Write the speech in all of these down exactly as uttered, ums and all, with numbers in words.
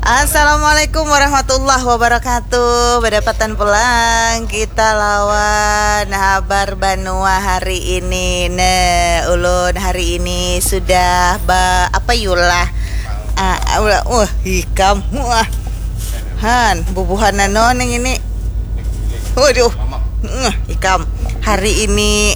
Assalamualaikum warahmatullahi wabarakatuh. Berdapatan pulang kita lawan habar banua hari ini. Nah, ulun hari ini sudah ba apa yulah. Ah, ulah, wah, hikam. Wah. Han, bubuhan nano ning ini. Waduh. Ngeh, ikam. Hari ini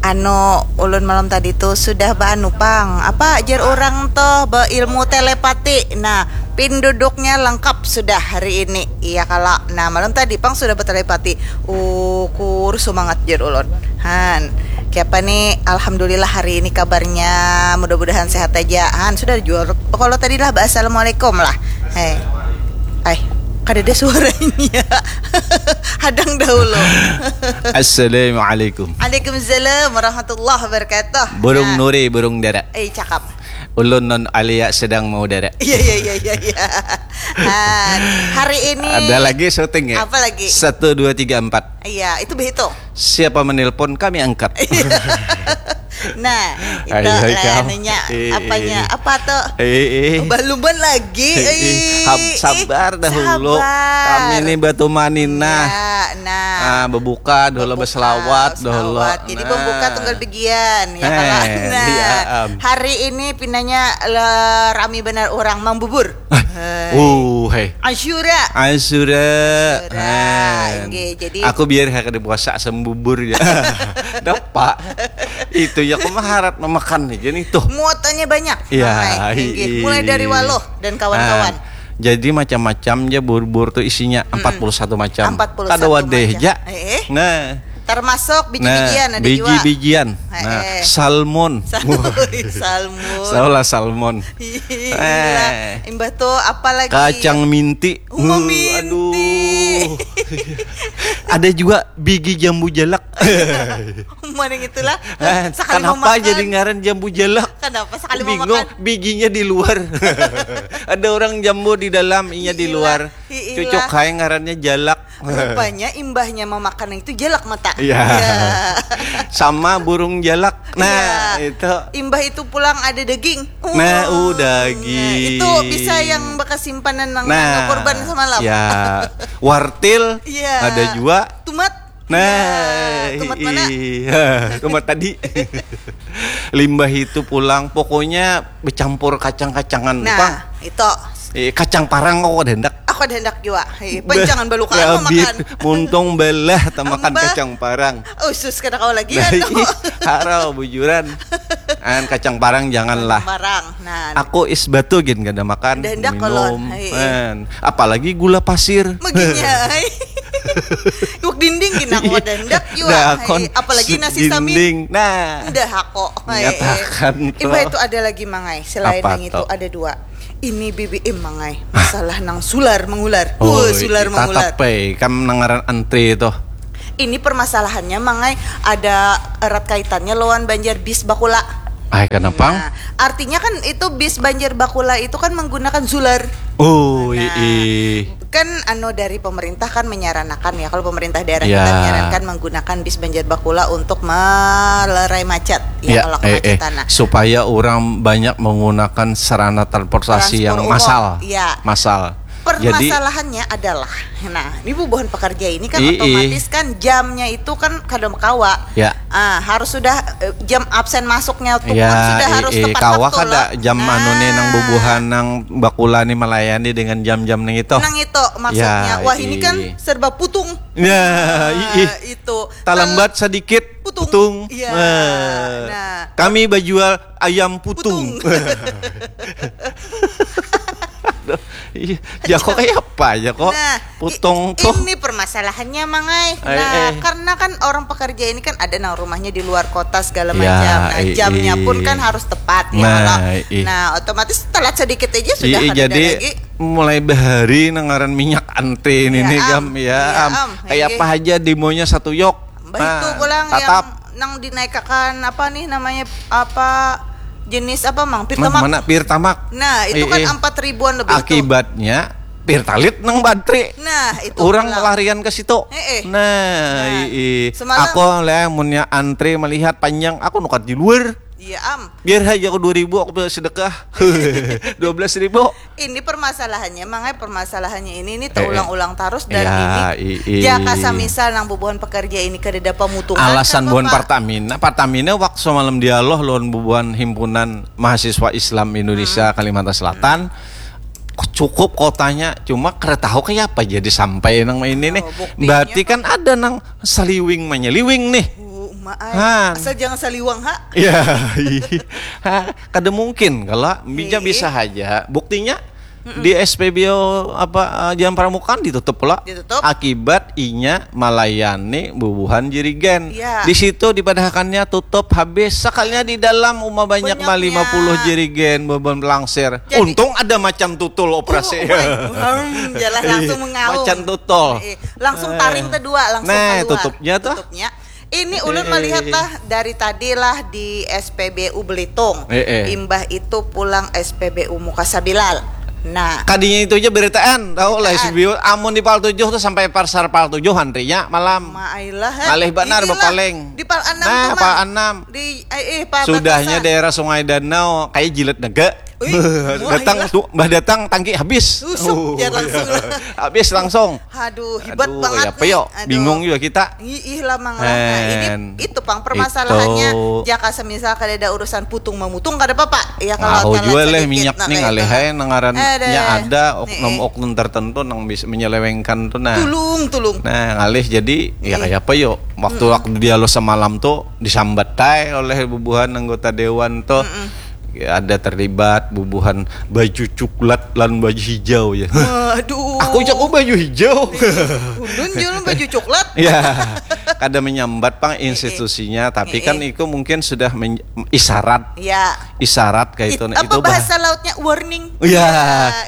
anu ulun malam tadi tuh sudah baanu pang. Apa jar orang tuh beilmu telepati. Nah, pin duduknya lengkap sudah hari ini. Iya kala. Nah, malam tadi pang sudah bertelepati. Ukur semangat jar ulun. Han, kiapa nih? Alhamdulillah hari ini kabarnya. Mudah-mudahan sehat aja. Han, sudah jual. Kalau tadi lah assalamualaikum lah. Hei. Ay, kada ada suaranya. Hadang dahulu. Assalamualaikum. Waalaikumsalam warahmatullahi wabarakatuh. Burung Nah. Nuri, burung dara. Eh, cakap. Ulun non alia sedang mau dara. Iya, iya, iya, iya, iya. Han, hari ini Ada lagi syuting ya? Apa lagi? Satu, dua, tiga, empat. Iya, itu begitu. Siapa menelpon, kami angkat. Nah, itu Ayo, lah ikam. Nanya Eh, apanya? Eh. Apa tuh? Eh, eh. Baluman lagi. Eh, eh. Eh, Hab- sabar dahulu. Sabar. Kami ini batu maninah. Ya, nah. Ah, bebuka dahulu, Bebuka, berselawat dahulu. Selawat. Jadi Nah. Pembuka tunggal degian ya. Eh, nah, iya, am. Hari ini pinanya le, rami benar orang mambubur. Hai. Uh, hai. Asyura. Asyura. Asyura. Hai. Inggih, jadi Aku biar kada puasa sembubur ya. Dapat. Itu ya aku maharat memakan nih jadi tuh. Muatannya banyak. Ya, Hai, inggih. Mulai dari waluh dan kawan-kawan. Ah, jadi macam-macam ya bubur tuh isinya empat puluh satu macam. Empat puluh satu Kada wadah macam. Ja. Eh, eh. Nah. Termasuk biji-bijian nah, ada biji-bijian. Nah, eh. Salmon. Salmon. Salah salmon. Iya. Eh. Imbah tuh apa lagi? Kacang minti. Uma uh, minti. Aduh. Ada juga bigi jambu jalak. Mana yang itulah. Eh, kenapa makan. Jadi ngaran jambu jalak? Kenapa sekali Bingung, makan? Biginya di luar. Ada orang jambu di dalam, inya di luar. Cucuk hai ngarannya jalak. Rupanya imbahnya memakan itu jalak mata. Iya. Ya. Sama burung jalak. Nah, ya. Itu. Imbah itu pulang ada daging. Nah, uh, daging. Nah, itu bisa yang bekas simpanan nang nah, korban semalam. Ya. Wartil ya. Ada juga. Tumat. Nah, ya, tumat mana? Iya, tumat tadi. Limbah itu pulang, pokoknya bercampur kacang-kacangan. Nah, itu. Eh, kacang parang kok ada hendak. Aku ada hendak juga. Hei, panjangan baluka aku makan. Muntung belah tamakan kacang parang. Usus kada kau lagi nah, anu. Harau bujuran. An kacang parang janganlah. Parang. Nah. Aku is batu gin kada makan. Ada hendak minum. Apalagi gula pasir. Maginya. Iwak dinding gin aku ada hendak juga. Nah, apalagi nasi samin. Nah. Udah aku. Nyatakan. Imbah itu ada lagi mangai. Selain yang itu ada dua. Ini B B M mangai. Masalah nang sular mengular. Oh, uh, sular mengular. Tatap, eh. Kam nangaran antre itu. Ini permasalahannya mangai ada erat kaitannya lawan Banjar bis bakula. Ay, kenapa? Nah, artinya kan itu bis Banjar bakula itu kan menggunakan sular. Oh, nah, iya. Kan anu dari pemerintah kan menyaranakan ya, kalau pemerintah daerah ya. Kita menyarankan menggunakan bis Banjar bakula untuk melerai macet ya, ya kalau eh, eh, nah. Supaya orang banyak menggunakan sarana transportasi yang massal. Ya. Massal. Permasalahannya jadi, adalah, nah, ini bubuhan pekerja ini kan i, otomatis i. Kan Jamnya itu kan kada kawa. Ya. Ah, harus sudah eh, jam absen masuknya tuh ya, kan sudah i, harus i, tepat kawa waktu kada lah. Jam nah. Anu nih nang bubuhan nang bakula nih melayani dengan jam-jam nang itu. Nang itu maksudnya. Ya, wah i, ini kan serba putung. Ya, nah, i, i. Itu. Talambat sedikit putung. Putung. Ya. Nah. Nah. Kami bajual ayam putung. Putung. Iya, ya kok kayak apa ya kok? Nah, putong tuh. Ini permasalahannya mangai. Nah, eh, eh. Karena kan orang pekerja ini kan ada nang rumahnya di luar kota segala ya, macam. Nah, i, jamnya i. Pun kan harus tepat ya nah, kalau. I. Nah, otomatis telat sedikit aja sudah i, i, ada jadi lagi. Mulai bahari nangaran minyak ante ini ya, nih am. Gam ya, ya am. Am. Kayak apa aja demonya satu yok. Bah nah, itu pulang tatap. Yang nang dinaikakan apa nih namanya apa jenis apa mang Pertamax. Mana Pertamax? Nah, itu kan empat ribuan lebih. Akibatnya Pertalite nang bantri. Nah, itu orang pelarian ke situ. Eh, eh. Nah, nah, i, i. Semalam aku lah munnya antre melihat panjang aku nukat di luar. Iya am. Biar aja aku dua ribu aku sedekah. Dua belas ribu. Ini permasalahannya, mangai permasalahannya ini ini terulang-ulang terus dan Ya, ini i- i- jaka samisal nang bubuhan pekerja ini kada dapat mutungan Alasan kan, buhan Bapak? Pertamina, Pertamina waktu semalam dialog lawan bubuhan himpunan mahasiswa Islam Indonesia Kalimantan Selatan cukup kotanya cuma kada tahu kayak apa jadi sampai nang ini nih Oh, buktinya berarti kan ada nang saliwing menyeliwing nih Uh, maai. Han. Asal jangan saliwang ha. Ya, ha, kada mungkin kalau bisa Ih. bisa aja. Buktinya di S P B U apa eh, Jalan Pramuka kan ditutup pula. Ditutup. Akibat inya melayani bubuhan jirigen. Ya. Di situ dipadahakannya tutup habis. Sekalinya di dalam rumah banyak mah Banyaknya. lima puluh jirigen bubuhan pelangsir. Jadi- Untung ada macan tutul operasi. Hmm, jalan langsung mengaum. Macan tutul. Eh, langsung taring kedua langsung Nah, keluar. Tutupnya tuh. Tutupnya. Ini ulun melihat lah dari tadi lah di S P B U Belitung. Eh, eh. Imbah itu pulang S P B U Muka Sabilal. Nah, Kadinya itu aja beritaan, tahu lah Beritaan. S B U. Amun di Pal tujuh tuh sampai pasar Pal tujuh antrinya malam. Maailah. Ngalih banar, bapaling. Di Pal enam Nah, tuh, Mang. Pal enam. Di eh, eh Pal Sudahnya batasan. Daerah Sungai Danau kayak jilid naga. Wih, datang maailah. Tuh, bah datang tangki habis. Usuk, ya, langsung lah. Habis langsung. Aduh, hebat Aduh, banget ya apa nih. yo? Aduh. Bingung juga kita. Ih, ih lah Mang lah. Nah, ini And itu pang permasalahannya. itu. Jaka semisal kada ada urusan putung memutung kada apa-apa. Ya kalau Tahu telat juga leh sedikit, minyak nah, nih kayak ngalih itu. Aja nangarannya Ada. Ada Nih, oknum-oknum tertentu nang bisa menyelewengkan tuh nah. Tulung, tulung. Nah, ngalih jadi ya kayak apa yo? Waktu aku dialog semalam tuh disambat tai oleh bubuhan anggota dewan tuh. Ya, ada terlibat bubuhan baju coklat lan baju hijau ya. Waduh. Aku cak oh baju hijau. Ulun jualan baju coklat. Ya, kada menyambat pang institusinya, tapi kan itu mungkin sudah men- isyarat, Ya. isyarat kayak itu. It- Nah, apa itu bah- bahasa lautnya warning? Ya, Ya,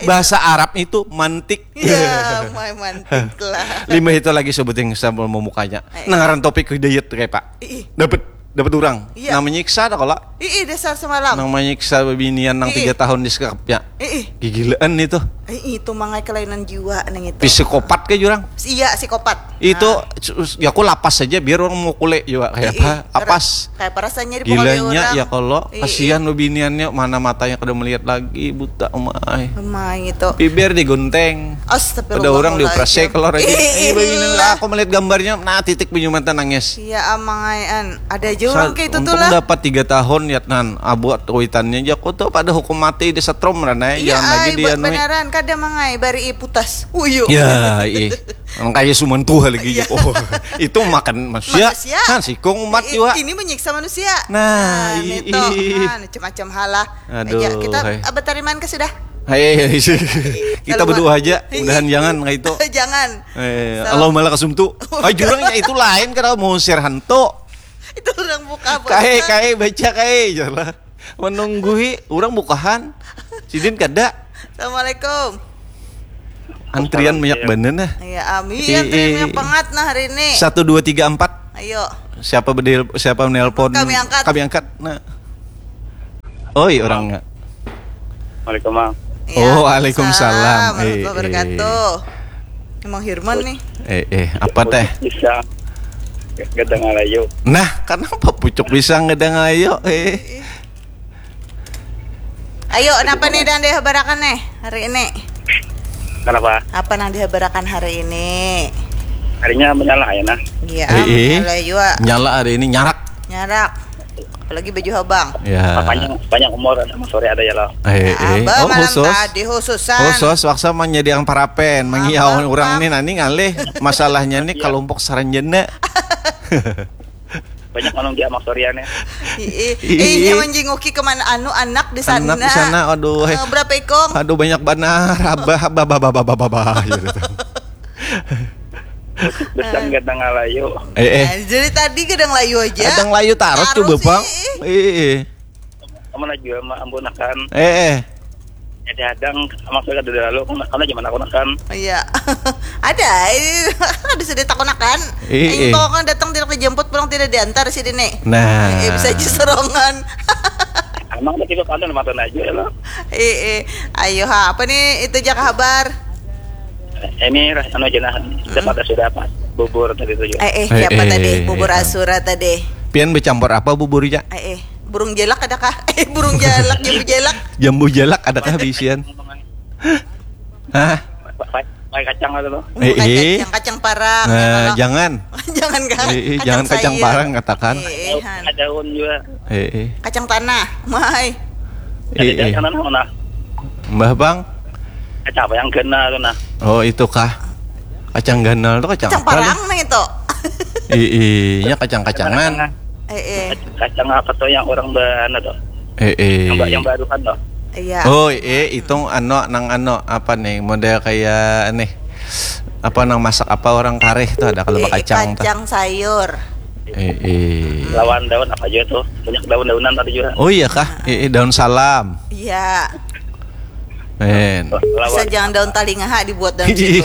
itu. Bahasa Arab itu mantik. Ya, main mantik lah. Limbah itu lagi sebuting sambil memukanya. Eh. Nah, ngaran topik hidayat tuh kayak Pak. Ih, Dapat dapat orang. Iya. Nah, menyiksa ada kalau ih, ih, dasar semalam. Nang menyiksa bebinian nang Ih. tiga tahun di sekapnya. Ih, ih. Gigilaan itu. Ih, itu mangai kelainan jiwa nang itu. Psikopat kayak jurang. Iya, psikopat. Itu Nah. sus- ya aku lapas aja biar orang mau kule juga kayak Ih, apa? ih, Apas. Kayak perasanya di pokoknya Gilanya orang. Ya kalau Ih, kasihan bebiniannya mana matanya kada melihat lagi buta umai. Emang itu. Bibir digunting. Astagfirullahaladzim. Udah orang dioperasi kalau lagi. Ih, Ini begini ih. lah, aku melihat gambarnya, nah titik bunyi mata nangis. Iya amang ai an. Ada aja orang Sa- kayak itu tuh untung lah. Dapat tiga tahun ya nan abuat kuitannya aja aku tuh pada hukum mati di setrum ranai Iya jangan lagi ai dia buat nui. Beneran kada mangai bari putas. Uyu. Ya, ih. Orang kaya suman tuh lagi. Oh, itu makan manusia. Manusia. Kan sikung umat I- juga. Ini menyiksa manusia. Nah, i- itu. i- Nah, macam-macam hal lah. Aduh, Ya, kita hai. Berterima kasih sudah. Hei, hei, hei. Kita Kalau berdoa ma- aja. Iya. Mudahan jangan kayak itu. Jangan. Eh, So- Allahumma lakasum tuh. Ah, jurangnya itu lain kada mau usir hantu. Itu orang buka Kae, puasa. Kae, baca Kae, jelah. Menunggui orang bukahan. Sidin kada. Assalamualaikum. Antrian banyak bener nah. Ya, amin. Ih, Antrian ih. Banyak banget nah hari ini. Satu dua tiga empat. Ayo. Siapa bedel siapa menelpon? Kami angkat. Kami angkat. Nah. Oi orangnya. Assalamualaikum, Mang. Ya, Oh, waalaikumsalam. salam Eh, warahmatullahi wabarakatuh. Emang Hirman nih. Eh eh apa teh? Bisa. Gadang Alayu. Nah, kenapa pucuk pisang gadang ayo? Eh. Ayo, kenapa nih dan dihabarakan nih hari ini? Kenapa? Apa nang dihabarakan hari ini? Harinya menyala ya nah. Iya, Eh, eh. mulai juga Nyala hari ini nyarak. Nyarak. Apalagi baju habang. Ya. Panjang panjang umur ada sore ada ya lah. Eh eh. Abah Oh malam khusus. Tadi khususan. Khusus waksa menjadi yang parapen, mengiau Apa? Orang nih nani ngalih masalahnya nih kelompok saranjana. Banyak manung dia maksoriannya. Ih, Ih. eh, dia menjinguki kemana anu anak di sana. Anak di sana, aduh, eh. Eh, berapa ikong? Aduh banyak banar, abah, abah, abah, abah, abah, abah, gitu. Besar Gadang Alayu. Eh, eh. Eh, jadi tadi gadang layu aja. Kadang layu tarot Tarot coba sih. Bang. Eh, eh. Kamu lagi sama ambunakan. Eh, eh. Jadi hadang sama saya ada lalu karena zaman aku nakan. Iya. Ada, eh, ada sudah takunakan. Iya, iya. Engkau kan datang tidak dijemput pulang tidak diantar sih dini. Nah. Eh, bisa aja sorongan. Emang udah tiba pandang mata aja ya lo. Eh, eh. Ayo ha, apa nih itu aja kabar? Ini ras anu aja nah. Dapat sudah apa? Bubur tadi tuh juga. Eh, eh, Eh, siapa eh, tadi? Bubur iya. Asura tadi. Pian bercampur apa buburnya? Eh, eh. Burung jelak adakah? Eh, burung jelak, jambu jelak. Jambu jelak adakah bisian? Hah? Pakai kacang ada tuh. Bukan eh, eh. Kacang, kacang parang. Nah, ya, kalau jangan. Jangan kan? Eh, eh, kacang jangan sayur. Kacang parang katakan. Eh, eh, daun juga. Eh, eh. Kacang tanah, mai. Eh, eh. Kacang tanah mana? Mbah Bang. Kacang apa yang kena tuh nah? Oh, itu kah? Kacang ganal tuh kacang, kacang apa? Kacang parang nih itu. Iya, kacang-kacangan. Eh, eh. Kacang apa tuh yang orang berana tuh? Eh, eh. Yang, yang baru kan tuh? Iya. Oh, eh, itu ano nang ano apa nih? Model kayak nih apa nang masak apa orang kareh tuh ada kalau eh, kacang, kacang tuh. Kacang sayur. Eh, eh. Lawan daun apa aja tuh? Banyak daun-daunan tadi juga. Oh iya kah? Eh, eh, daun salam. Iya. Men. Bisa jangan daun talinga ha dibuat dalam situ.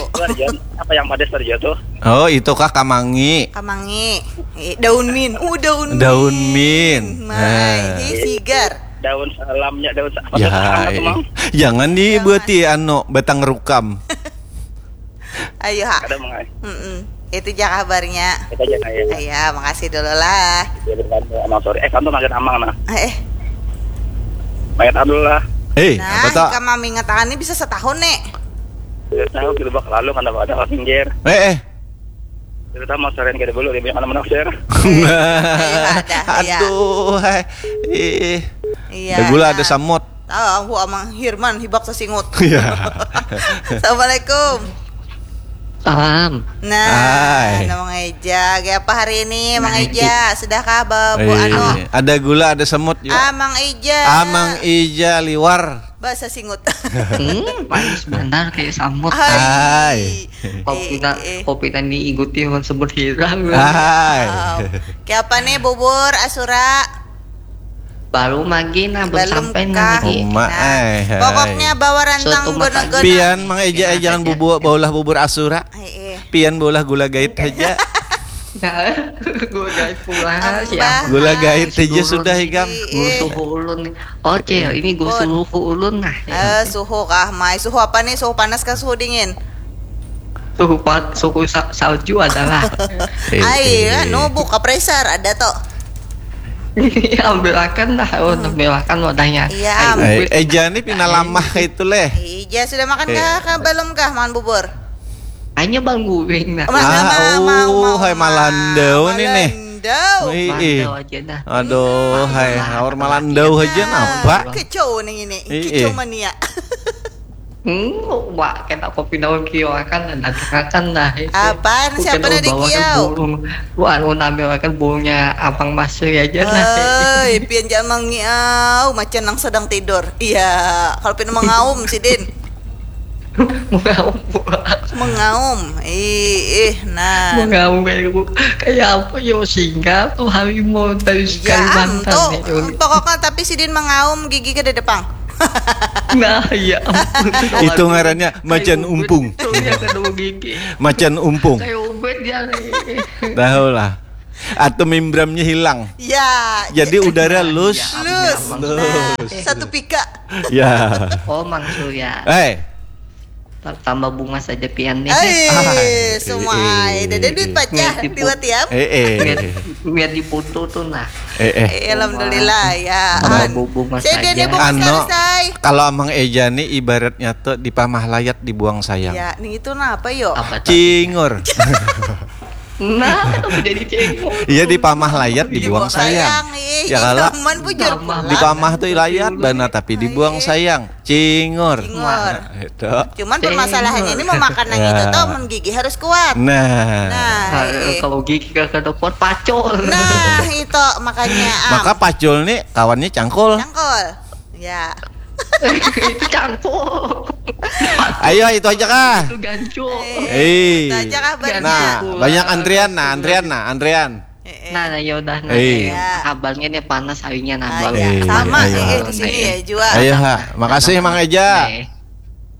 Apa yang pada saja tuh? Oh, itu kah kamangi? Kamangi. Eh, daun min. Uh, daun. Daun min. Mai. Nah. Hei, sigar. Daun salamnya daun apa ya, tuh, iya. Mang? Jangan dibuati anu batang rukam. Ayo ha. Ada mengai. Mm -mm. Itu aja kabarnya. Itu aja ya. Iya, makasih dulu lah. Ya, amang sorry. Eh, kamu makan amang nah. Eh. Makan dulu lah. Eh, nah, apa tak? Kamu mengatakan ini bisa setahun nih. Tidak tahu kita bakal lalu kan ada pinggir. Eh, eh. Kita mau sering kita dulu dia mana menafsir. Iya, ada. Aduh, hai. Ih. Iya. Ada gula, ada samot. Ah, aku amang Hirman hibak sesingut. Iya. Assalamualaikum. Salam. Nah, Hai. Nah, Mang Eja, kayak apa hari ini, Mang Nah, Eja? Sudahkah bawa bu Iya. anu? Ada gula, ada semut juga. Ah, Mang Eja. Ah, Mang Eja liwar. Bahasa singut. Hmm, manis benar kayak samut. Hai. Hai. Kopi eh, na, eh. Kopi tadi iguti orang sebut hirang. Hai. Wow. Kayak apa nih bubur asura? Baru magi nah belum, belum sampai kah? Nah, lagi. Uma, nah, eh, pokoknya bawa rantang gunung-gunung. Pian mang eja eh, jangan bubur baulah bubur asura. Eh, eh. Pian baulah gula gait aja. Gula gait pula ya. Gula gait aja sudah ikam. Suhu ulun nih. Oke, ini gue suhu ulun nah. Eh, suhu kah mai? Suhu apa nih? Suhu panas kah suhu dingin? Suhu pat, suhu sa, salju adalah. Ai, anu buka pressure ada toh. Ambil akan dah, oh, ambil akan wadahnya. Iya. Eh, eh, jangan nih pina lamah kayak itu leh. Iya, sudah makan kah? Belum kah makan bubur? Hanya bang guring nah. Ah, oh, hai malandau nih nih. Malandau. Ih, ih. Malandau aja dah. Aduh, hai haur malandau aja napa? Kecau nih ini. Kecau mania. Hmm, wah, kena kopi daun kio akan dan akan nah. Apaan? Siapa nadi kio? Wah, anu nambah akan burungnya apang masuk aja nah. Oi, pian jangan mengiau, macan nang sedang tidur. Iya, kalau pian mengaum sidin. Mengaum. Mengaum. Ih, ih, nah. Mengaum kayak kayak apa yo singgah tuh harimau dari ya, Kalimantan. Tuh, ya, pokoknya tapi sidin mengaum gigi ke dedepang. Nah, iya. Itu ngarannya macan umpung. Macan umpung. Tahu lah. Atau membrannya hilang. Ya. Jadi udara loose. Loose. Nah, satu pika. Ya. Oh, Mang Surya. Hei. Tambah bunga saja pian nih. Eh, semua. Ada duit pacah dua tiap. Eh, eh. Biar, biar diputu tuh nah. Eh, eh. Eh, alhamdulillah ya. Tambah bunga saja. Saya dia bunga selesai. Kalau Amang Eja nih ibaratnya tuh dipamah layat dibuang sayang. Ya, nih itu apa yo? Cingur. Nah, jadi cengkok. Iya di pamah layat dibuang sayang. Ya kalau di pamah tuh layat bana tapi dibuang sayang. Cingur. Cingur. Nah, itu. Cuman permasalahannya ini memakan yang itu tuh mun gigi harus kuat. Nah. Nah, eh. Kalau gigi kagak kuat pacul. Nah, itu makanya. Maka pacul nih kawannya cangkul. Cangkul. Ya. Itu campur. Ayo itu aja kah? Itu gancu. Eh. Itu aja kah banyak. Nah, banyak antrian nah, antrian nah, antrian. Eh, eh. Nah, nah ya udah nah. Eh. Ya. Kabarnya nih panas harinya nah. Ah, ya. Sama eh, eh, di sini ya juga. Ayo ha, makasih Mang Eja. Eh.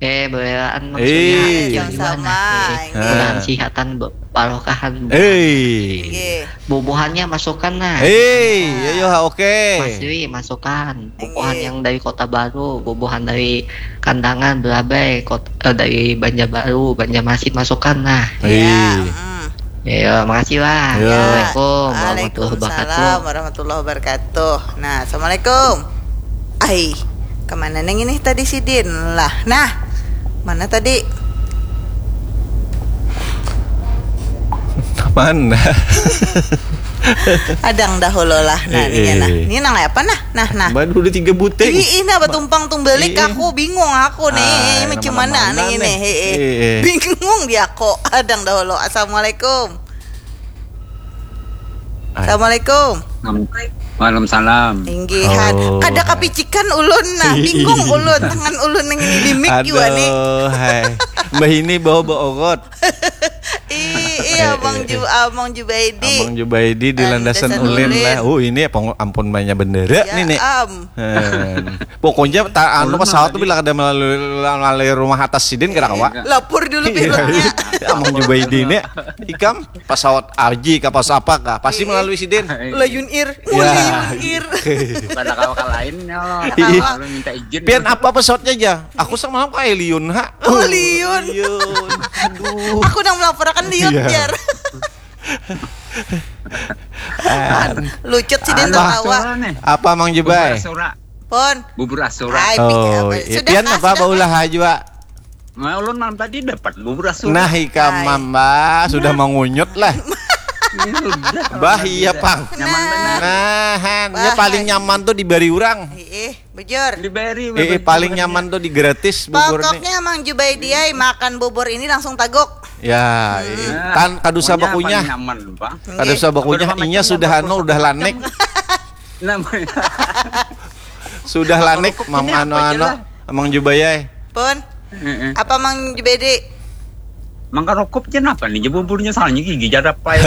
Eh, belaan maksudnya. Eh, sama. Nah, eh, eh. Nah. Sihatan barokahan. Eh. Bubuhannya masukkan nah. Eh, ayo oke. Mas Dwi masukkan. Bubuhan yang dari Kota Baru, bubuhan dari Kandangan, Belabai, kota, eh, dari Banjarbaru, Banjarmasin masukkan nah. Eh. Ya, mm. Ya, makasih, Wak. Ya. Assalamualaikum warahmatullahi wabarakatuh. Waalaikumsalam warahmatullahi wabarakatuh. Nah, assalamualaikum. Ai, kemana neng ini tadi sidin lah? Nah, mana tadi? Mana? Adang dahulu lah. Nah, Eh, ini lah. eh. Ini nang apa nah? Nah, nah. Baru udah tiga buteng. Ih, ih, nah batumpang tumbalik Iya. Aku bingung aku nih. Ah, Ini yang macam mana mana-mana nih ini? nih. Heeh. Iya. Bingung dia kok. Adang dahulu. Assalamualaikum. Ay. Assalamualaikum. Waalaikumsalam. Inggihan. Oh. Kada kapicikan ulun nah. Bingung ulun. Tangan ulun yang ini di mic juga nih. Aduh, hai. Mbah ini bawa bawa ogot. Ih, iya, Eh, Bang eh, Ju, eh. ah, Bang Jubaidi. Abang Jubaidi di Ah, landasan landasan ulin ulin. Lah. Uh, ini apa ampun banyak bendera Ya, nih nih. Am. Hen. Pokoknya tak anu Ulun pesawat apa tuh nih? Bila kada melalui melalui rumah atas sidin kira kawa. Lapor dulu Iya. pilotnya. Abang Jubaidi nih. Ikam pesawat aji kah pesawat apa kah pasti melalui sidin. Lion Air. Ya. Lion Air. Bukan kawa lainnya loh. Iya. Kalau minta izin. Pian apa pesawatnya aja? Aku semalam ke Liun ha. Oh, Liun. Liun. Aduh. Aku nang melaporkan Liun Iya. Jar. Ah, Lucut sidin Apa? tertawa. Nih. Apa Mang Bubur Jubai? Asura. Pon. Bubur Asura. Ai, Oh, apa? iya. Sudah Pian kah? apa Sudah baulah kah? Jua? Nah, ulun malam tadi dapat bubur Asura. Nah, ikam Hai. mamba sudah mengunyut lah. Ini sudah. Bah iya pang. Nyaman benar. Nah, han, nya Bah, paling han. Nyaman tuh dibari urang. Ih, bujur. Diberi. Eh, eh, paling nyaman tuh di gratis buburnya. Pokoknya Mang Jubaidi ai makan bubur ini langsung taguk. Ya, eh, tan kada usah bakunyah. Nyaman, Bang. Kada usah bakunyah, Berapa inya macam sudah bubur? Anu, udah lanek. Namanya. Sudah lanek, Kerupuk Mang ini apa anu-anu, aja lah? Mang Jubayai. Pun. Heeh. Apa Mang Jubaidi? Mangkarokop jen apa nih? Buburnya soalnya gigi jarapai.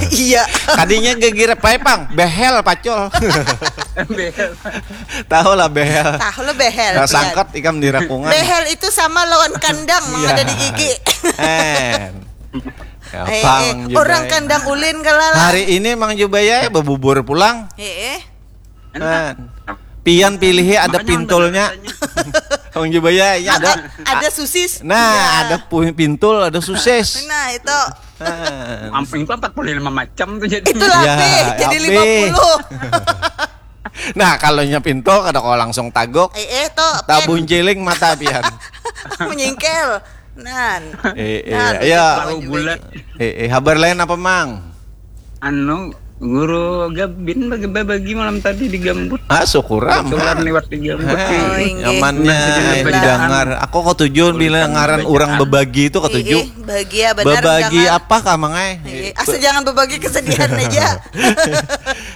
Iya. Kadinya gegira pae pang, behel pacol. Behel. Tahu lah behel. Tahu lo behel. Nah, Pian. Sangkat ikam di rakungan. Behel itu sama lawan kandang Mang Iya. Ada di gigi. En. Ya, Eh, Bang eh, Jubai. Orang kandang ulin kalala. Hari ini Mang Jubai ya bebubur pulang. Eh, eh. Nah, pian pilih ada Makanya pintulnya. orang Mang Jubai ya, ya ada. Ada, ada susis. Nah, Ya. Ada pu- pintul, ada susis. Nah, itu. Nah. Amping itu empat puluh lima macam tuh jadi. Itulah Ya, Be, jadi ya, Be. lima puluh. Nah, kalau nya pintul kada kau langsung tagok. Eh, eh, to. Tabun ciling mata pian. Menyingkel. Nan. Eh, eh, Nan, ya. Mang Tahu Jubaidi. bulat. Eh, eh, habar lain apa, Mang? Anu, guru Gabin bagi-bagi malam tadi di Gambut. Ah, syukur am. Kebetulan lewat di Gambut. Hei, Oh, inggih. nyamannya Nah, eh, bacaan. Didangar. Aku kok tujuan bila Tulisan ngaran bacaan. Orang bebagi itu kok Ih, tujuh. Ih, bahagia benar Bebagi jangan. Apa kah, Mang ai? Ih, asa jangan berbagi kesedihan aja.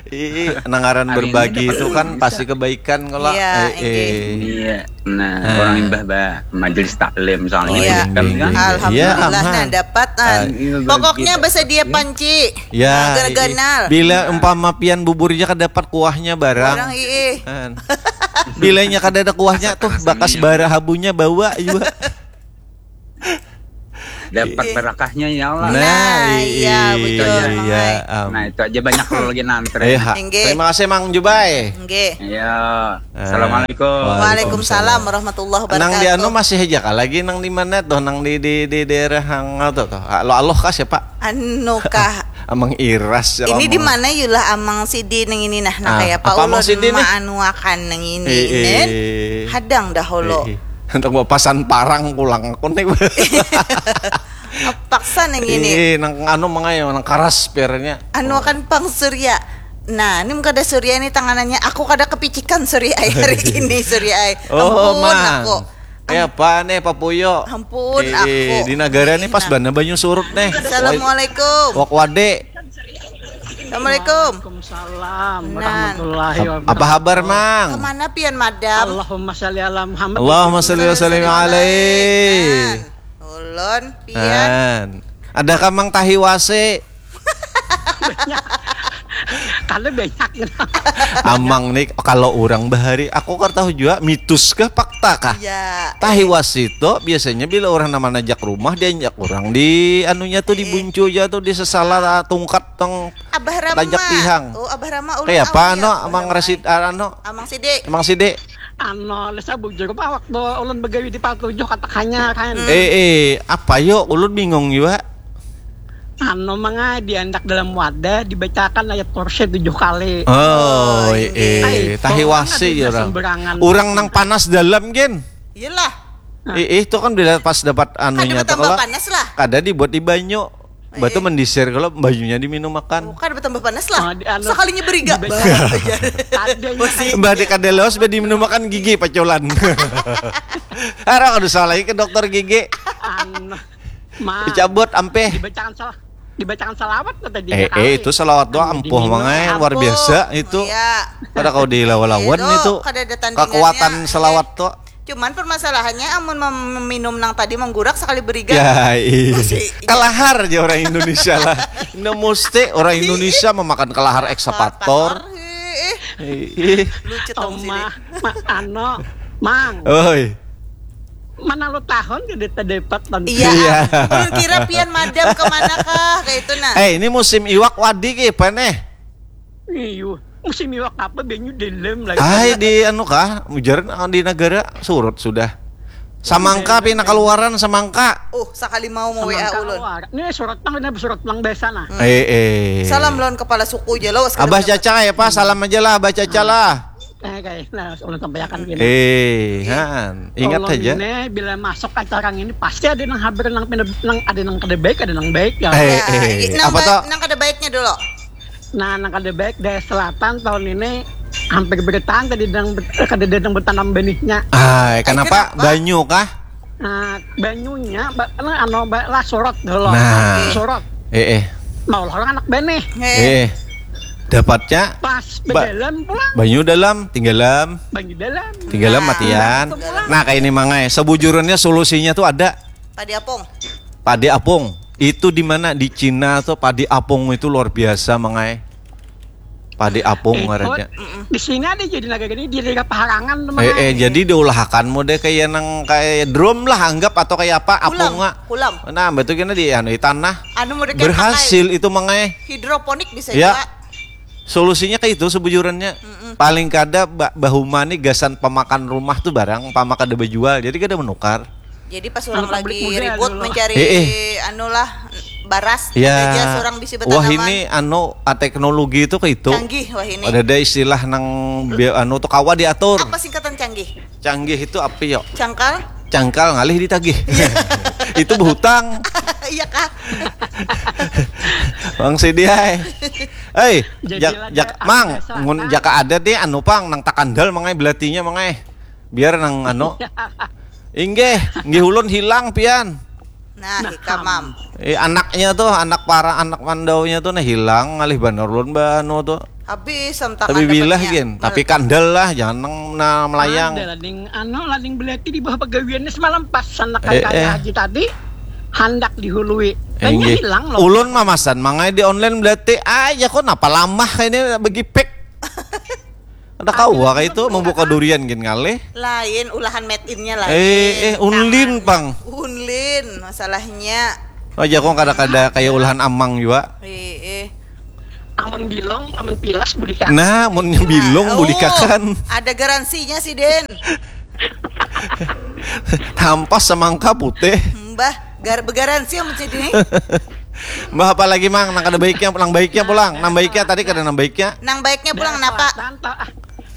Ih, nang ngaran Hari ini berbagi dapat itu uang kan bisa. Pasti kebaikan kalau Iya, eh, inggih. eh. Iya. Nah, Ah. Orang imbah bah majelis taklim soalnya Iya. kan, kan? Alhamdulillah Iya, aman. Nah, dapat Ah. Pokoknya bersedia panci. Ya, Nah, i- ganal. Bila umpama pian buburnya kedapat kuahnya barang. Orang ii. Kan. Bilanya kada ada kuahnya tuh bakas bara habunya bawa juga. Dapat barakahnya ya Allah. Nah, i- iya, betul, Mang iya, ai. am. Nah, itu aja banyak kalau lagi nantri. Eh, ha. Inggih. Terima kasih Mang Jubai. Nggih. Ya. Ah. Assalamualaikum. Waalaikumsalam warahmatullahi wabarakatuh. Nang di anu masih aja kah lagi nang di mana tuh nang di di di daerah hang tuh tuh aloh aloh kah siapa Anu kah? Amang Iras ya Ini di ngomong. Mana yulah Amang Sidi nang ini nah, nah Ah, kayak apa apa Amang ulun Sidi nih? Maanuakan nang ini Eh, eh. Nen. Hadang dahulu. Eh, eh. Untuk mau pasan parang pulang aku nih. Paksa nang ini. Eh, nang anu mangayo nang karas pernya. Anu akan pang Surya. Nah, ini kada Surya ini tanganannya. Aku kada kepicikan Surya ai hari ini Surya ai. Oh, Ampun Mang. Aku. Eh, apa nih Papuyo? Ampun, Eh, aku. Di negara nih pas Nah. Bana banyu surut nih. Assalamualaikum. Wak wade. Assalamualaikum. Waalaikumsalam Nan. warahmatullahi Ap- wabarakatuh. Apa kabar, Mang? Kemana pian madam? Allahumma shalli ala Muhammad. Allahumma shalli wa sallim alaihi. Nan. Ulun pian. Nan. Ada kamang tahi wase. Kalau banyak gitu. Amang nih kalau orang bahari aku kan tahu juga mitos kah fakta kah? Ya. Tahi wase itu biasanya bila orang nama najak rumah dia ajak orang di anunya tuh di buncu aja tuh di sesala tungkat tong Abah Rama. Tajak tihang. Oh, Abah Rama ulun Kayak apa awalnya no Abah Mang Rama. Rasid ah, ano Amang Sidi. Mang Sidi. Ano, lesa bujur apa waktu ulun begawi di Pal Tujuh katakannya kan. Eh eh apa yo ulun bingung juga. Anu, mangai diandak dalam wadah, dibacakan ayat kursi tujuh kali. Oh, eh, tahiwasi ya orang. Orang nang panas dalam, gin. Iyalah. Eh, itu kan bila pas dapat anunya tuh kalau kada dibuat di banyu. Batu mendisir kalau banyunya diminum makan. Oh, kada bertambah panas lah. Oh, di, anu, sekalinya beriga. Mbak di kada lewas, mbak diminum makan gigi paculan. Arang aduh salah ke dokter gigi. Anu. Ma, dicabut ampe. Dibacakan salah. Dibacakan salawat kata dia. Eh, eh, itu salawat doa ampuh mangai luar biasa itu. Iya. Kada kau dilawan-lawan itu. Kekuatan salawat tuh. Cuman permasalahannya amun meminum nang tadi menggurak sekali beriga. Ya, iya. Kelahar aja orang Indonesia lah. Ini mesti orang Indonesia memakan kelahar eksepator. Lucu tong sini. Ano, mang. Oi. Mana lo tahun jadi terdepet tentang. Iya. Iya. Kira pian madam kemana kah kayak itu nah. Eh, ini musim iwak wadi ki, peneh. Iyo, musim iwak apa banyu dalam lagi. Ai di anu kah, mujaran ah, di negara surut sudah. Samangka pina keluaran samangka. Uh, sakali mau mau WA ulun. Ini surat pang, ini surat pang biasa nah. Eh eh. Salam lawan kepala suku aja lo. Abah Caca ya Pak, salam aja lah Abah Caca lah. Eh kayak nah, ulun sampaikan gini. Eh, han, ingat aja. Ini bila masuk acara ini pasti ada nang habar nang pindah nang ada nang kada baik, ada nang baik ya. Eh, eh. Nang, apa ba- tuh? Nang kada baiknya dulu. Nah, nang kada baik Daya Selatan tahun ini hampir bertahan tadi dang kada ada nang bertanam benihnya. Ah, kenapa? Banyu kah? Nah, banyunya ba, nah, ano ba, lah surut dulu. Nah. Surut. Eh eh. Nah, orang anak benih. Eh. eh. Dapatnya pas ba, dalam pulang. Banyu dalam, tinggalam. Banyu dalam. Tinggalam nah, matian. Nah, kayak ini mangai. Sebujurannya solusinya tuh ada. Padi apung. Padi apung. Itu di mana di Cina tuh padi apung itu luar biasa mangai. Padi apung ngarannya. Di sini ada jadi naga gini di daerah Paharangan teman. Eh, eh jadi diulahakan mode kayak nang kayak drum lah anggap atau kayak apa apung nggak? Kulam. Nah, betul kena di anu di tanah. Anu mode berhasil itu mangai. Hidroponik bisa ya. Juga. Solusinya kayak itu sebujurannya. Mm -mm. Paling kada bahuma nih gasan pemakan rumah tuh barang pama kada berjual. Jadi kada menukar. Jadi pas orang lagi ribut mencari eh, eh. Anulah baras ya. Aja seorang bisi bertanaman. Wah ini anu teknologi itu ke itu. Canggih wah ini. Ada ada istilah nang anu tuh kawa diatur. Apa singkatan canggih? Canggih itu apa yo? Cangkal. Cangkal ngalih ditagih. Iya. Itu berhutang. Iya kah? Bang Sidi hai. Hei, jak, jak, mang, ngun jaka ada deh anu pang nang takandal mangai belatinya mangai. Biar nang anu. Inggih, inggih ulun hilang pian. Nah, nah ikam mam. Eh, anaknya tuh, anak para anak mandaunya tuh nah hilang ngalih banar ulun ba anu tuh. Habis entah. Tapi bilah gin, tapi kandel lah, jangan nang nah, melayang. Ada lading anu lading belati di bawah pegawiannya semalam pas anak eh, eh. Haji tadi handak dihului. Banyak hilang loh. Ulun mamasan mangai di online belati aja kok napa lamah ini begipek. Ada kawa kayak itu membuka durian gin ngalih. Lain ulahan made innya lain. Eh, eh unlin pang. Unlin masalahnya. Oh jago kada kada kayak ulahan amang juga. Eh, eh. Amun bilong, amun pilas bulikan. Nah, amun bilong oh, bulikakan. Ada garansinya sih Den. Tampas semangka putih. Mbah, gar begaransi amun jadi. Mbah apa lagi mang? Nang kada baiknya, nang baiknya pulang, nang baiknya tadi kada nang baiknya. Nang baiknya pulang napa?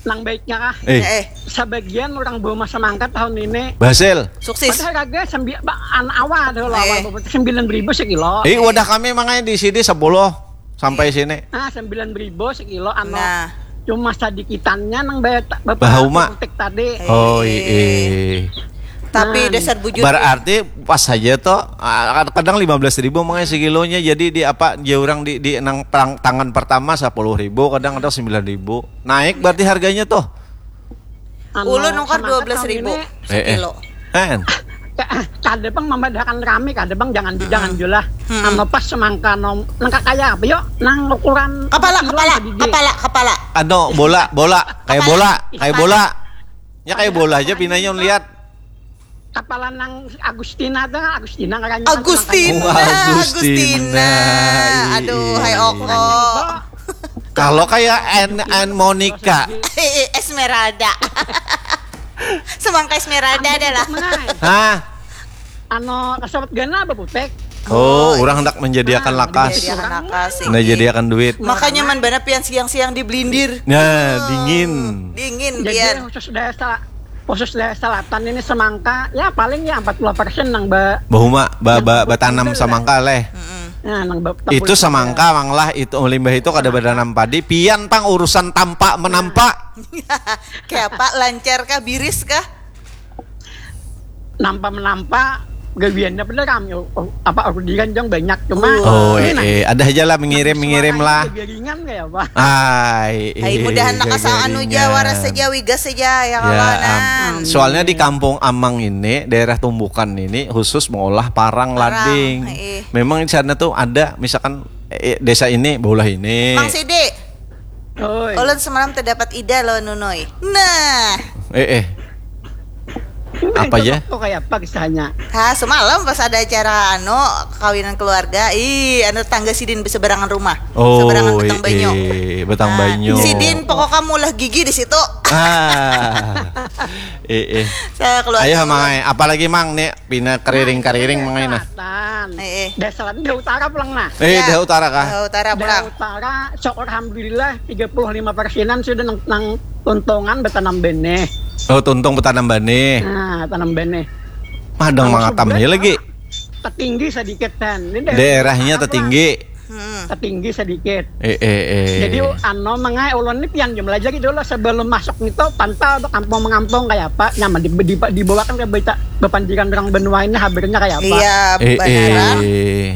Nang baiknya kah? Eh. eh. Sebagian orang bawa masa mangkat tahun ini. Berhasil. Sukses. Padahal kagak sembi an awal tuh lah. Eh. Sembilan ribu sekilo. Eh, wadah kami mangai di sini sepuluh sampai sini. Ah, sembilan ribu sekilo anu. Nah. Cuma sadikitannya nang bayar bapak tadi. Oh, iya. Tapi nah. Dasar bujur. Berarti pas saja tuh ah, kadang lima belas ribu mengenai sekilonya jadi di apa dia orang di, di nang perang, tangan pertama sepuluh ribu kadang ada sembilan ribu naik berarti harganya tuh anu, ulun nukar dua belas ribu sekilo eh, eh. Kan. Kada bang memadakan rame kada bang jangan hmm. Jangan julah hmm. Sama pas semangka nom nang kaya apa yuk nang ukuran kepala kepala kepala kepala ano bola bola kayak bola kayak bola ya kayak bola aja pinanya lihat Kepala nang Agustina tuh, Agustina ngarannya. Agustina, oh, Agustina. Agustina. Aduh, hai Oko. Kalau kayak An An Monica. Esmeralda. Semangka Esmeralda adalah. Hah? Ano kasawat gana apa putek? Oh, orang hendak menjadiakan lakas. Menjadiakan lakas, menjadiakan duit. Makanya man bana pian siang-siang di blindir. Nah, dingin. Dingin pian. Jadi khusus daya khusus daerah selatan ini semangka ya paling ya empat puluh persen nang ba bahuma ba, ba, batanam semangka leh. Nah, nang ba, itu semangka mang lah itu limbah itu kada batanam padi pian pang urusan tampak menampak. Kayak apa lancar kah biris kah? Nampak menampak gawiannya bener kami oh, apa orderan yang banyak cuma oh, oh eh, eh, ada aja lah mengirim mengirim lah. Garingan kayak apa? Ay, Ay, mudahan nak asal anu ja waras saja wigas saja ya kawanan. Um, soalnya di kampung Amang ini, daerah Tumbukan ini khusus mengolah parang, parang lading. Memang di sana tuh ada misalkan eh, desa ini, bola ini. Mang Sidi. Oi. Ulun semalam terdapat ida lo nunoi. Nah. Eh eh. Apa ya? Kok kayak apa kisahnya? Ha, semalam pas ada acara anu kawinan keluarga, ih anu tangga sidin berseberangan rumah. Oh, seberangan betang banyu. Eh, betang nah, banyu. Sidin pokok kamu lah gigi di situ. Ah. Eh eh. Ayo mang, apalagi mang nih pina keriring-keriring mang nah. Eh eh. Dah selatan dah utara pulang nah. Eh, ya. Dah utara kah? Dah utara pulang. Dah utara, syukur alhamdulillah tiga puluh lima persenan sudah nang, nang tuntungan bertanam benih. Oh, tuntung bertanam benih. Nah, tanam benih. Padang mangatam ya lagi. Tertinggi sedikit kan. Daerahnya tertinggi. Hmm. Tertinggi sedikit. Eh, eh, eh. Jadi ano mengai ulun ni pian jumlah jadi dulu sebelum masuk itu pantau tu kampung mengampung kayak apa nyaman di, di, dibawakan ke berita bepandiran orang benua ini habernya kayak apa. Iya, eh, benar. Eh.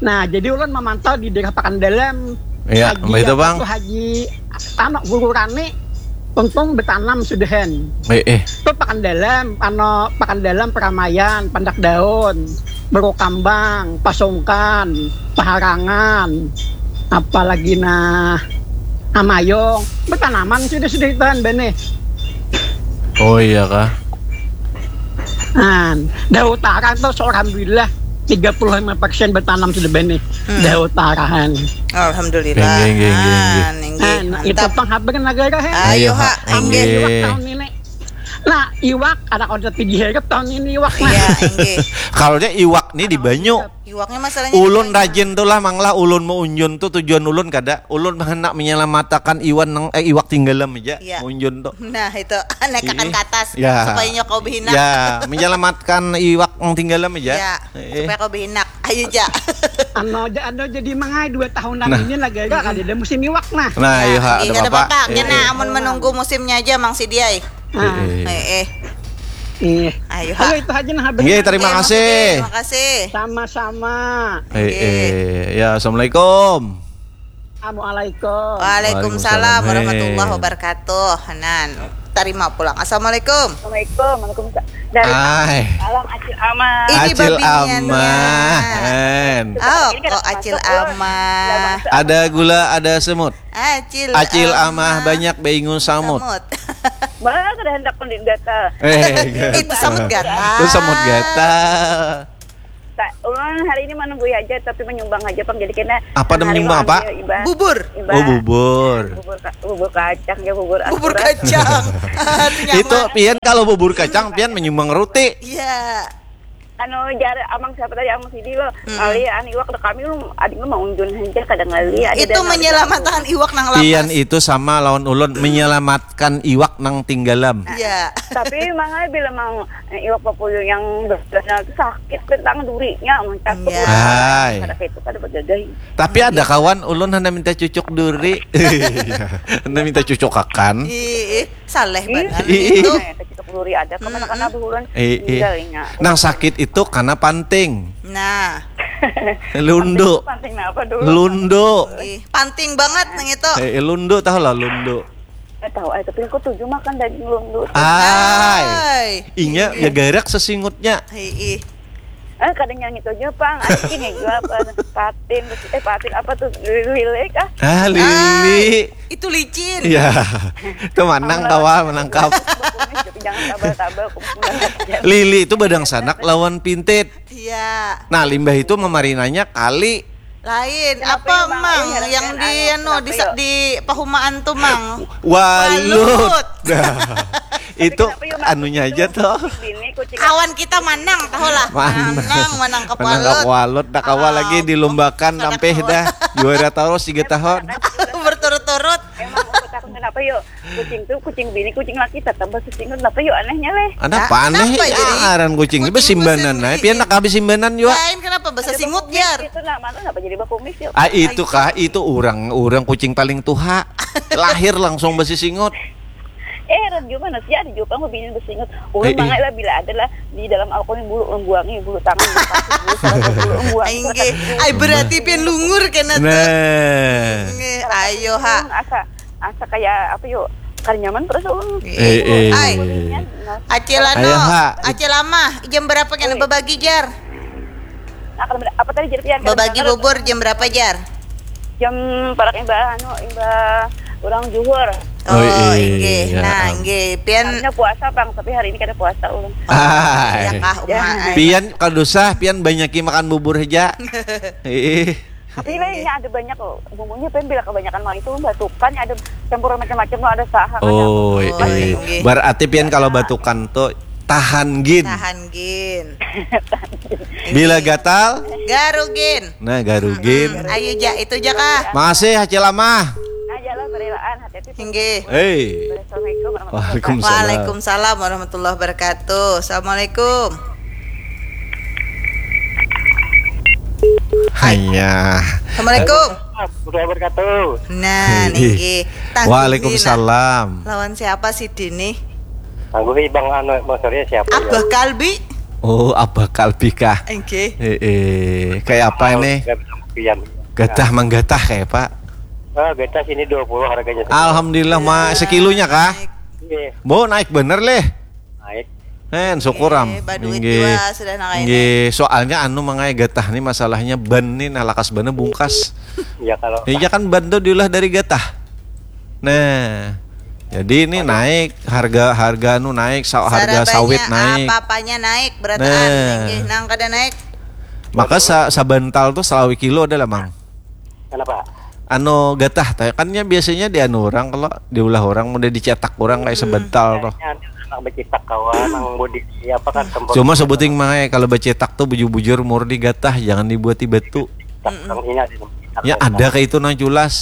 Nah, jadi ulun memantau di daerah Pakan Dalam. Iya, Haji itu, Bang. Haji Tamak Guru Rani untung bertanam sudahan. Eh, eh. Itu Pakan Dalam, ano Pakan Dalam Peramaian, Pandak Daun, Beru Kambang, Pasungkan, Paharangan, apalagi nah Amayong, bertanaman sudah sudah itu kan bane. Oh iya kah? Nah, dah utara tuh seorang bilah tiga puluh lima persen bertanam sudah bane. Hmm. Dah utarahan. Alhamdulillah. Geng, geng, geng, geng. Nah, itu penghabar negara he. Ayo ha, inggih. Iwak tahun ini. Nah, iwak anak udah tinggi herep tahun ini iwak. Iya, inggih. Kalau dia iwak nih di banyu. Iwaknya masalahnya ulun rajin tuh lah mang lah ulun mau unjun tuh tujuan ulun kada ulun hendak menyelamatakan iwan nang eh iwak tinggalam aja ya. Unjun tuh nah itu naikakan ke atas ya. Supaya nyokau behinak ya menyelamatkan iwak nang tinggalam aja ya. Eh. Supaya kau behinak ayo aja anu aja anu jadi mangai dua tahun nah. Ini lagi agak hmm. Ada musim iwak nah nah, nah iya, iya ada bapak, bapak. Iya, iya. Nah, amun menunggu musimnya aja mang si diai Nah. Eh, eh. Eh. Ayo, Halo, itu aja nah habis. Iya, terima kasih. Terima kasih. Sama-sama. Eh, eh. Ya, assalamualaikum. Assalamualaikum. Waalaikumsalam warahmatullahi wabarakatuh. Nan, terima pulang. Assalamualaikum. Assalamualaikum. Waalaikumsalam. Dari Ay. Salam Acil Ama. Ini Acil Ama. Oh, kok Acil Ama. Ada gula, ada semut. Acil, Acil amah, amah banyak beingun samut. Samut. Bah, kada hendak mandi gatal. Eh, itu samut gatal. Itu samut gatal. Ulun hari ini menunggui aja tapi menyumbang aja pang jadi kena. Apa ada menyumbang apa? Bubur. Iba. Oh bubur. Bubur, bubur kacang ya bubur. Bubur kacang. Itu pian kalau bubur kacang pian menyumbang roti. Iya. Anu jar amang siapa tadi amang sidi lo hmm. Ngali anu iwak dek kami lo adi mah maunjun haja kada ngali adi itu menyelamatkan iwak nang lapas pian itu sama lawan ulun menyelamatkan iwak nang tinggalam iya tapi mangai bila mang eh, iwak papuyuh yang benar itu sakit tentang durinya mencakut iya. Kada itu kada berdadah tapi ada kawan ulun hanya minta cucuk duri hanya minta cucuk akan ih saleh banget itu Luri ada kemana karena bulan eh, eh. Nang sakit itu karena panting. Nah. Lundu. Panting apa dulu? Lundu. Ih, panting banget nang itu. Eh, eh lundu tahu lah lundu. Eh, tahu eh tapi aku tujuh makan daging lundu. Ay. Inya ya garak sesingutnya. Hei, ih. Eh, kadang yang itu aja pang, anjing ya juga apa patin, eh patin apa tuh lilik ah. Ah, lili. Itu licin. Iya. Itu manang kawa menangkap. Jangan tabal-tabal. Lili itu badang sanak lawan pintit. Iya. Nah, limbah itu memarinanya kali Lain. Kenapa Apa, yuk, Mang? Mang, Ui, heran yang kan, di anu, anu, di, kenapa yuk? Di pahumaan tuh, Mang? Walut. Walut. Nah, itu Kenapa yuk, Mang? Anunya aja tuh. Bini kucing. Kawan kita manang, tahu lah. Manang. Manang, manang Menanggap kapalut. Walut dah, kawa lagi dilombakan Kada nampih kawa. Dah. Juara terus tiga tahun. Berturut-turut. Emang aku takut kenapa yuk? Kucing tuh, kucing bini, kucing laki tetap bahasa Singkawang. Kenapa yuk, anehnya leh? Ada Nah, apa aneh? kenapa Ya, jadi aran kucing. kucing Besimbanan bahasa aja. Pian Inggris? Nak habis simbanan juga. Lain, kenapa bahasa Singut, Jar? Itu nama tuh kenapa jadi bakumis yuk? Ah, itu kah? Itu orang, orang kucing paling tuha. Lahir langsung besi singut. Eh, Ron, gimana sih? Ada juga aku bini besingut. Orang Eh, eh. Mangai lah, bila ada lah di dalam alkohol bulu membuangi, bulu tangan, bulu kaki, bulu salah, bulu membuangi. Inggih. Ai, berarti pian lungur kena tuh. Nah. Inggih, ayo ha. Asa, asa kayak apa yuk? Kada nyaman perasaan. Eh, eh. Ai. Nah, Acil anu, Ayo, ha. Acil Amah, jam berapa kena Ui. Babagi, Jar? Nah, kada beda- apa tadi, Jar, Pian? Kada Babagi mendengar. Bubur jam berapa, Jar? Jam parak imbah anu, imbah urang juhur. Oh, Oh, iya, inggih. iya. Nah, inggih. Pian Harusnya puasa, Bang, tapi hari ini kada puasa ulun. Ai. Ya kah, Uma, ai. Pian kada usah, pian banyaki makan bubur aja. Ih. Tapi lainnya ada banyak loh. Bumbunya, Pian, bila kebanyakan mah itu batukan, ada campuran macam-macam loh, ada saha, ada Oh, Oh, eh. inggih. Berarti pian kalau batukan tuh tahan gin. Tahan gin. Bila gatal, Garugin. Nah, garugin. Ayo, Ja, itu ja kah? Makasih, Acil Amah. Aja lah, berelaan, hati-hati. Inggih. Hei. Assalamualaikum warahmatullahi Waalaikumsalam. Waalaikumsalam warahmatullahi wabarakatuh. Assalamualaikum. Hanya. Assalamualaikum. Warahmatullahi wabarakatuh. Nah, Inggih. Niki. Tah, Waalaikumsalam. Lawan siapa sih dini? Tangguhi Bang anu, Bang Surya siapa ya? Abah Kalbi. Oh, Abah Kalbi kah? Inggih. Eh, eh, kayak apa ini? Gak bisa kopian. Gatah manggatah kayak apa? Ah, geta sini dua puluh harganya. Alhamdulillah, ma sekilonya kah? Iya, Bo, naik bener leh. naik. Hen, syukur am. Eh, baduit Inggih. Jua sudah nang kayak ini. Inggih, soalnya anu, Mang ai, gatah nih masalahnya ban nih, nah, lakas bannya bungkas. Ya kalau Iya kan, ban tuh diulah dari gatah. Nah, jadi ini naik harga, harga anu naik, sa- harga Sarabanya, sawit naik. Apa-apanya naik, berataan. Nah. Inggih, nang kada naik. Maka sa- sabantal tuh salawi kilo ada lah, Mang. Kenapa? Anu gatah teh, kan nya biasanya di anu orang, kalau diulah orang, udah dicetak orang kayak sebental tuh. Kayaknya ada anak becitak kawan, nang body apa kan tempat. Cuma sebuting, Mang ai, kalau becetak tuh bujur-bujur murni gatah, jangan dibuati batu. Nang ini ada nang becitak. Ya, ada kayak itu nang culas.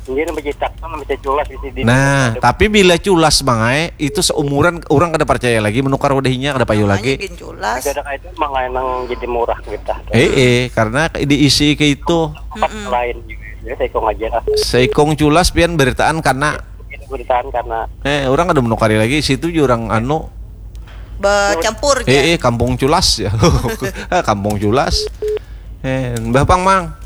Ini nang becitak tuh nang bisa culas di sini. Nah, tapi bila culas, Mang ai, itu seumuran orang kada percaya lagi menukar wadahinya, kada payu Makanya lagi. Gin culas. Ada kayak itu, Mang ai, nang jadi murah gitu. Eh, eh, karena diisi kayak itu. Tempat lain juga. Ya, saya kong aja lah. Seikong culas pian beritaan karena Itu beritaan karena eh orang kada menukari lagi, situ juga orang anu. Bercampur Eh, ya. eh, kampung culas ya. Ah, kampung culas. Eh, Mbah Pang, Mang.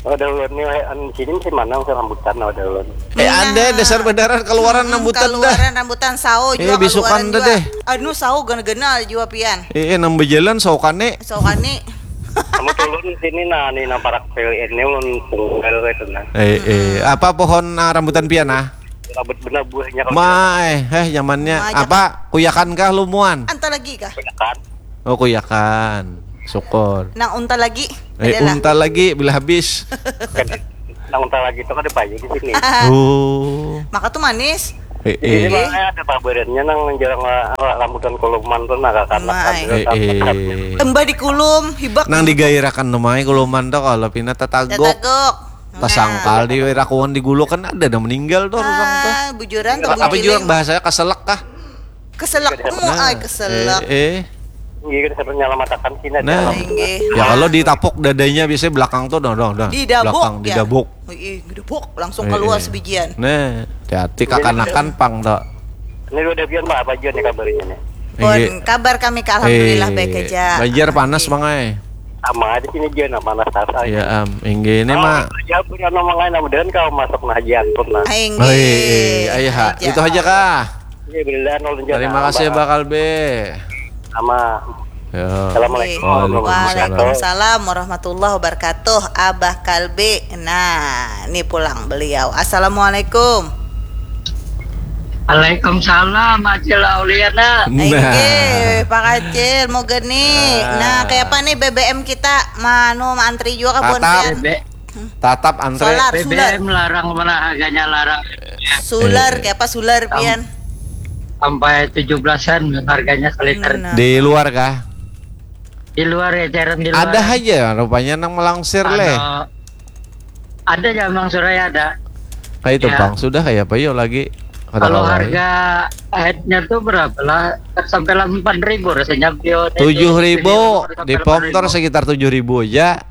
Oh, ada ulun nih, an sini masih mana, masih rambutan, ada ulun. Eh, ada dasar bedaran keluaran rambutan dah. Keluaran rambutan, sao Eh, juga bisukan keluaran dah juga. Deh. Anu, sao ganal-ganal juga pian. Eh, eh, nang bejalan saukane. Saukane. Kamu turun sini, nah, nih, nang parak pil ini, ulun tunggal itu, nah. Eh, eh, apa pohon, ah, rambutan pian, ah? Rambut benar buahnya kalau Mai, eh, nyamannya Mai, apa? Kuyakan kah lumuan? Anta lagi kah? Kuyakan. Oh, kuyakan. Syukur. Nang unta lagi. Eh, Adalah. Unta lagi bila habis. Kan, nang unta lagi itu kan ada payu di sini. Oh. Maka tuh manis. Eh, Ini eh. Mah ada paberennya nang jalan ra- rambutan koloman tuh, nah, kakan Mai. Eh, eh. Embah di kulum, hibak. Nang digairakan tuh, Mai, kuluman tuh kalau pina tatagok. Tatagok. Tasangkal di rakuan di gulu kan ada nang meninggal tuh orang tuh. Ah, bujuran tuh Apa buciling. Jurang bahasanya keselak kah? Keselak mu Nah, ai keselak. Eh, eh. Iya, kita sampai nyalamatakan sini ada. Nah. Inggih. Ya kalau ditapuk dadanya biasanya belakang tuh, dong, dong, dong. Didabuk, Belakang ya. Didabuk. Ih, gedebok langsung Eh, keluar eh. sebijian. Nah, hati-hati kakanakan pang tuh. Ini udah biar mah apa aja nih kabarnya nih? Pun Inggih. kabar kami ke alhamdulillah Eh, baik aja. Banjar panas, Mang ai. Sama aja sini aja, nah, panas tas aja. Ya am, inggih ini mah. Ya pun anu, Mang ai, nah, mudahan kau masuk nah aja ampun, nah. Aing. Hei, ayo ha, itu aja kah? Iya, bila anu, lanjut, Terima nah, kasih Bang. Bakal B. Sama. Ya. Assalamualaikum. Waalaikumsalam. Waalaikumsalam warahmatullahi wabarakatuh. Abah Kalbi. Nah, ini pulang beliau. Assalamualaikum. Waalaikumsalam, Acil Auliana. Nah. Inggih, Pak Acil, mau geni. Nah, kayak apa nih B B M kita? Manu, antri juga kah buhan Tatap. pian? Bebek Tatap antre Solar, B B M sular. Larang, mana harganya larang? Sular, Eh. Kayak apa sular pian? Sampai tujuh belasan harganya seliter. Nah. Di luar kah? Di luar, ya, cairan di luar. Ada aja rupanya nang melangsir leh. Anu, ada ya, Mang Suraya ada. Kayak itu Ya. Bang, sudah kayak apa yuk lagi? Kada Kalau kawa, ya. Harga headnya tuh berapa lah? Sampai delapan ribu rasanya, Bio. Tujuh ribu Sampai di pom tor delapan ribu. Sekitar tujuh ribu aja.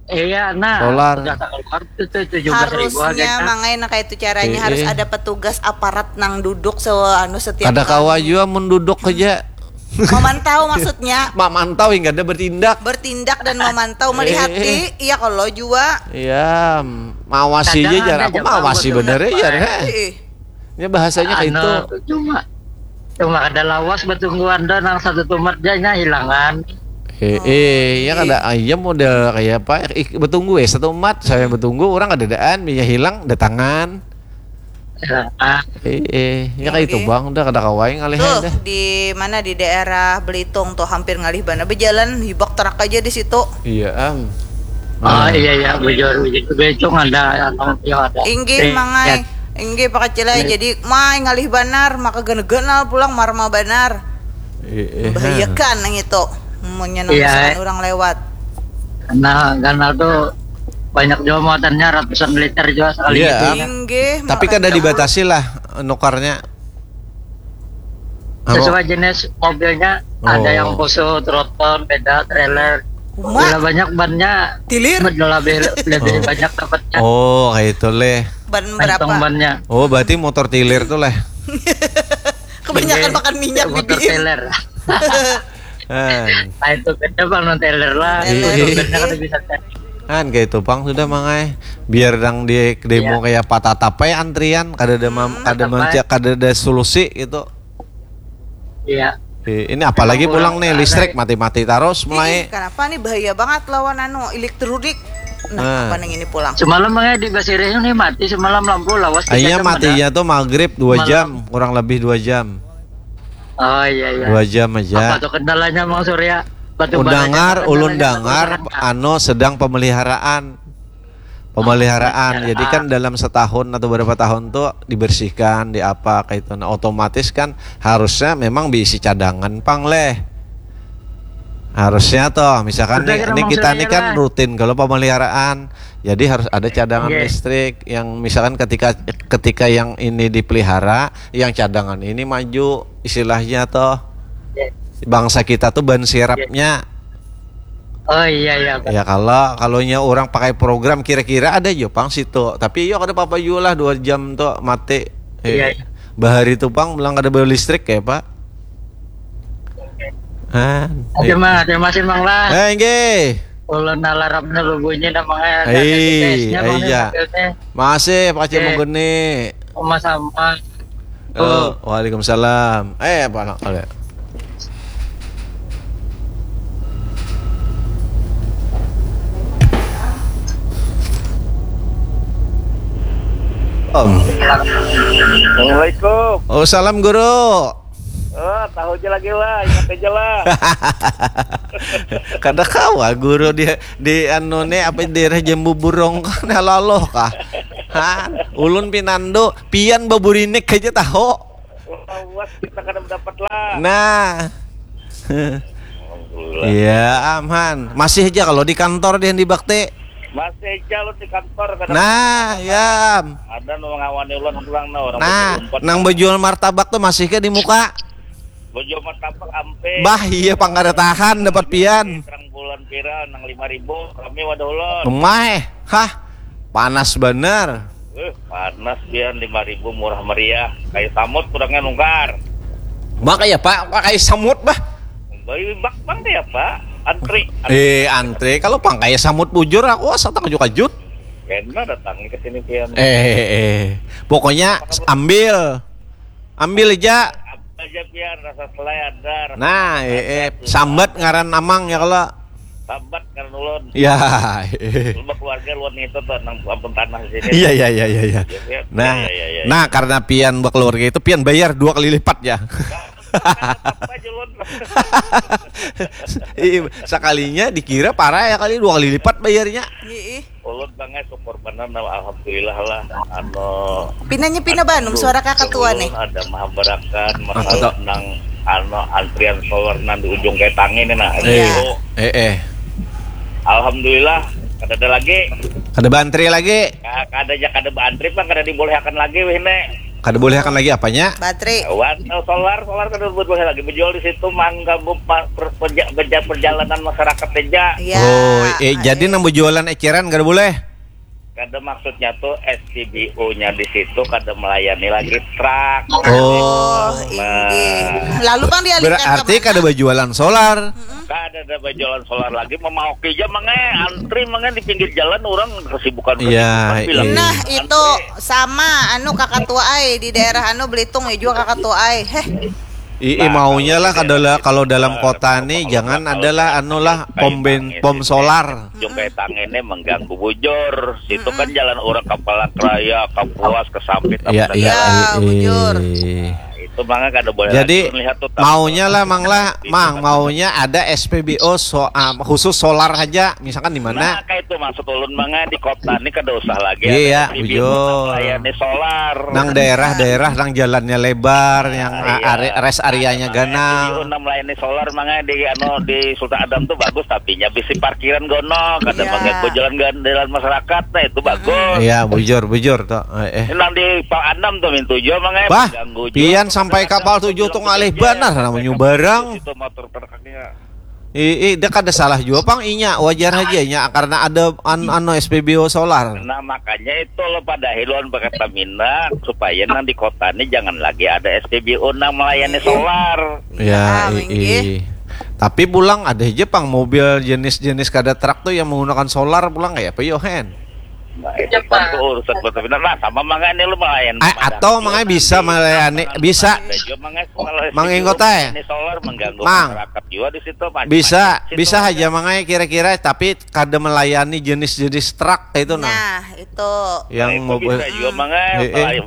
Iya, nah. Solar. Sudah keluar itu tuh tujuh belas ribu Harusnya harganya. Mang ai, nah, kayak itu caranya Eh, harus eh. ada petugas aparat nang duduk se anu setiap Kada kawa tahun. Juga mun duduk aja. Memantau maksudnya. Mamantau hingga ada bertindak. Bertindak dan memantau, melihat Eh, eh. Iya kalau juga. Iya, mawasi Kadang aja jar. ada Aku aja, mawasi Bang, bener betul, ya. Pak. Heh. Ih, Ya bahasanya kayak Anu, itu. cuma cuma ada lawas betungguan doang, nang satu tumat janya hilangan. Eh, eh, ya kada ayam model kayak apa? Ih, betunggu ya satu umat, saya betunggu orang ada daan, minyak hilang datangan. Hilangan. Eh, eh, ya kayak itu Oke. Bang, udah kada kawai ngalih Tuh dah. Di mana, di daerah Belitung tuh hampir ngalih bana, berjalan hibak terak aja di situ. Iya am. Oh Ah. Iya, iya, bujur, bujur. Becung ada, anu, ya ada. Inggih, Eh, Mang ai. ya. Inggih, Pak Acil ai. Iya. Jadi, Mang ai ngalih banar, maka ganal-ganal pulang marma banar. Eh, eh, Membahayakan nang itu. Munnya nang Iya. Misalkan orang lewat. Nah, ganal tuh banyak juga muatannya, ratusan liter juga sekali Iya. gitu. Inggih, Tapi kada makanya. Dibatasi lah nukarnya. Apa? Sesuai jenis mobilnya, ada Oh. yang khusus, roton, beda, trailer. Uma. Bila banyak bannya, Tilir. Lebih, lebih Oh. Banyak dapatnya. Oh, kayak itu leh. Ban Kantong berapa? Bannya. Oh, berarti motor tilir tuh leh. Kebanyakan Iya, makan minyak, motor Bibi. Teler. Kan. Nah, itu beda, Bang, non teler lah. Teler. Iya. Beda kada bisa teler. Kan kayak itu Bang, sudah Mang ai. Biar dang di demo Iya. Kayak apa, tatap ai antrian, kada ada mam- kada Tatap ai. Mencak, kada ada solusi gitu. Iya. Eh, ini apalagi pulang nih listrik mati-mati terus mulai. Ih, kenapa nih, bahaya banget lawan anu elektronik. Nah, Nah. Apa nih ini pulang? Semalam, Mang ai, di Basirih ini mati semalam lampu lawas. Iya, Tiga jam matinya ada. Tuh maghrib dua Semalam. jam, kurang lebih dua jam. Oh, iya, iya. Dua jam aja. Apa tuh kendalanya, Mang Surya? Batu Ulun baranya dengar, apa ulun kendalanya? dengar, anu, sedang pemeliharaan. Pemeliharaan. Jadi kan dalam setahun atau berapa tahun tuh dibersihkan, di apa kayak itu. Nah, otomatis kan harusnya memang diisi cadangan pang leh. Harusnya toh, misalkan Udah, nih, kira ini Mang kita Surya nih kan lah. Rutin kalau pemeliharaan. Jadi harus ada cadangan Iya. Listrik yang misalkan ketika ketika yang ini dipelihara, yang cadangan ini maju, istilahnya toh. Iya. Bangsa kita tuh ban sirapnya. Oh, iya, iya, Pak. Ya kalau kalau nya orang pakai program kira-kira ada jo pang situ. Tapi yo kada apa-apa juga lah dua jam tuh mati. Eh, Iya, iya. Bahari tuh pang bilang kada ada listrik kayak apa? Ah, Oke, Mang, terima kasih, Mang lah. Eh, nggih. Ulun alarmnya lu bunyi namanya. Hei, Tesnya, Mang, iya. mobilnya. Masih Pak Cik Oke. Mugeni. Sama-sama. Oh, waalaikumsalam. Eh, apa nak ada? Om. Assalamualaikum. Oh, salam guru. Oh, tahu aja lagi lah, ingat aja lah. Kada kawa guru di di anu nih apa daerah Jambu Burong kan laloh kah? Ha, ulun pinando, pian baburinik aja tahu. Wah, kita kada mendapat lah. Nah. Alhamdulillah. Iya, aman. Masih aja kalau di kantor dia di Bakti. Masih aja lu di kantor kada. Nah, ya. Ada nu ngawani ulun pulang nah orang Nah, berempat. Nang bejual martabak tuh masih ke di muka? Bejual martabak ampe. Bah, iya pang kada tahan dapat pian. Terang bulan pira nang lima ribu, kami wadah ulun. Emah, hah? Panas bener. Eh, panas pian lima ribu murah meriah. Kayak samut kurangnya nungkar. Bah kayak apa? Bah kayak samut bah. Bayi bak bang deh apa? Antri. Eh, antre kalau pang kayak samut bujur aku asa takajut-kajut. Kena datang ke sini pian. Eh, eh, eh. Pokoknya ambil. Ambil aja. Apa aja pian rasa selai ada. Rasa Nah, eh, eh, sambat ngaran amang ya kalau. Sambat karena Ulun. Ya. Ulun berkeluarga luar itu tuh nang ampun tanah di sini. Iya, iya, iya, iya, iya. Ya, ya. Nah, ya, ya, ya, ya. Nah, karena pian berkeluarga itu pian bayar dua kali lipat ya. Apa aja ulun. Iya, sekalinya dikira parah ya kali dua kali lipat bayarnya. Iya. Ulun bangnya syukur benar nah, alhamdulillah lah. Anu, pinanya pina Bandung suara kakak tua nih. Ada mahabarakan masalah nang anu antrian solar nang di ujung ketang ini nah. Iya. Eh, eh. Alhamdulillah, kada ada lagi. Kada bantri lagi. Kada aja kada bantri pang kada dibolehakan lagi wih ne. Kada bolehakan lagi apanya? Bantri. Wan, solar, solar kada boleh lagi menjual di situ mengganggu perjalanan masyarakat aja. Iya. Oh, eh, jadi nang berjualan eceran kada boleh. Kada maksudnya tuh S P B U-nya di situ kada melayani lagi truk. Oh, nah. Lalu pang dialihkan berarti kada berjualan solar. Kada ada berjualan solar lagi, memaoki aja mangai antri mangai di pinggir jalan orang kesibukan kesibukan bilang. Nah, itu sama anu kakak tua ai di daerah anu Belitung ya juga kakak tua ai. Heh. Ii maunya lah kalau dalam kota nih jangan adalah anu lah pom ben pom solar. Jung kayak tang ini mengganggu bujur. Situ kan jalan orang Kampalak Raya, Kapuas, Kesampit, apa segala. Iya, bujur. Itu mangga kada boleh. Jadi maunya lah mang lah, mang maunya ada S P B O so, ah, khusus solar aja, misalkan di mana? Nah, kayak itu maksud ulun mangga di kota ini kada usah lagi. Iya, bujur. Melayani solar. Nang daerah-daerah nang jalannya lebar, yang rest areanya ganal. Nang melayani solar mangga di anu di Sultan Adam tuh bagus, tapi nya bisi parkiran gono, kada mengganggu jalan jalan masyarakat, nah itu bagus. Iya, bujur bujur tuh. Eh, eh. Nang di Pal Anam tuh mintu jua mangga. Bah, pian sampai kapal tujuh tuh ngalih banar namanya barang. Itu motor truknya. Ih, ih, dia kada salah jua pang inya, wajar aja nya karena ada an anu S P B U solar. Nah, makanya itu lo pada hiluan Pertamina supaya nang di kota ini jangan lagi ada S P B U nang melayani solar. Ya, ih. Tapi pulang ada aja pang mobil jenis-jenis kada truk tuh yang menggunakan solar pulang kayak apa yo hen? Nah, itu kan tuh urusan Pertamina. Nah, sama mangga ini lu mangga atau mangga bisa melayani bisa mangga kota ya. Ini solar mengganggu masyarakat juga di situ. Bisa bisa aja mangga kira-kira tapi kada melayani jenis-jenis truk itu nah. Nah, itu yang mobil juga mangga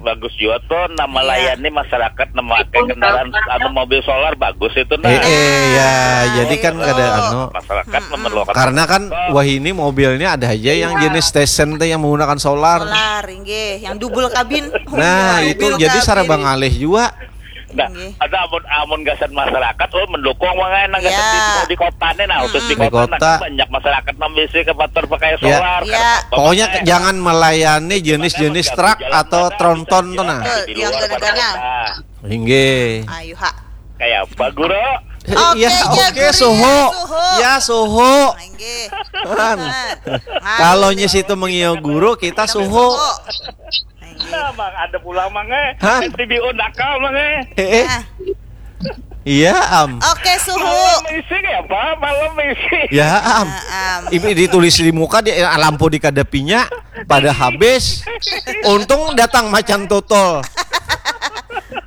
bagus juga tuh nah melayani masyarakat nang memakai kendaraan anu mobil solar bagus itu nah. Eh, ya, jadi kan kada anu masyarakat memerlukan karena kan wah ini mobilnya ada aja yang jenis station tuh yang menggunakan solar. Solar, inggih, yang double kabin. Nah, itu jadi saraba ngalih juga. Nah, ada amun amun gasan masyarakat oh mendukung mangga nang gasan di, di kota nih nah khusus di kota, nah, banyak masyarakat nang bisi kapatur pakai solar. Pokoknya jangan melayani jenis-jenis truk atau tronton tuh nah. Betul, yang ganal-ganal. Inggih. Ayo ha. Kayak apa guru? Iya, oke suhu. Ya suhu. Inggih. Kalau nyis itu mengiau guru kita suhu. Nah, mang ada pulang mang eh. Hah? S T B O nakal mang eh. Eh, eh. Iya am. Oke suhu. Malam isi ya apa? Malam isi. Ya am. Nah, am. Ibi ditulis di muka di ah, lampu dikadapinya pada habis. Untung datang macan tutul.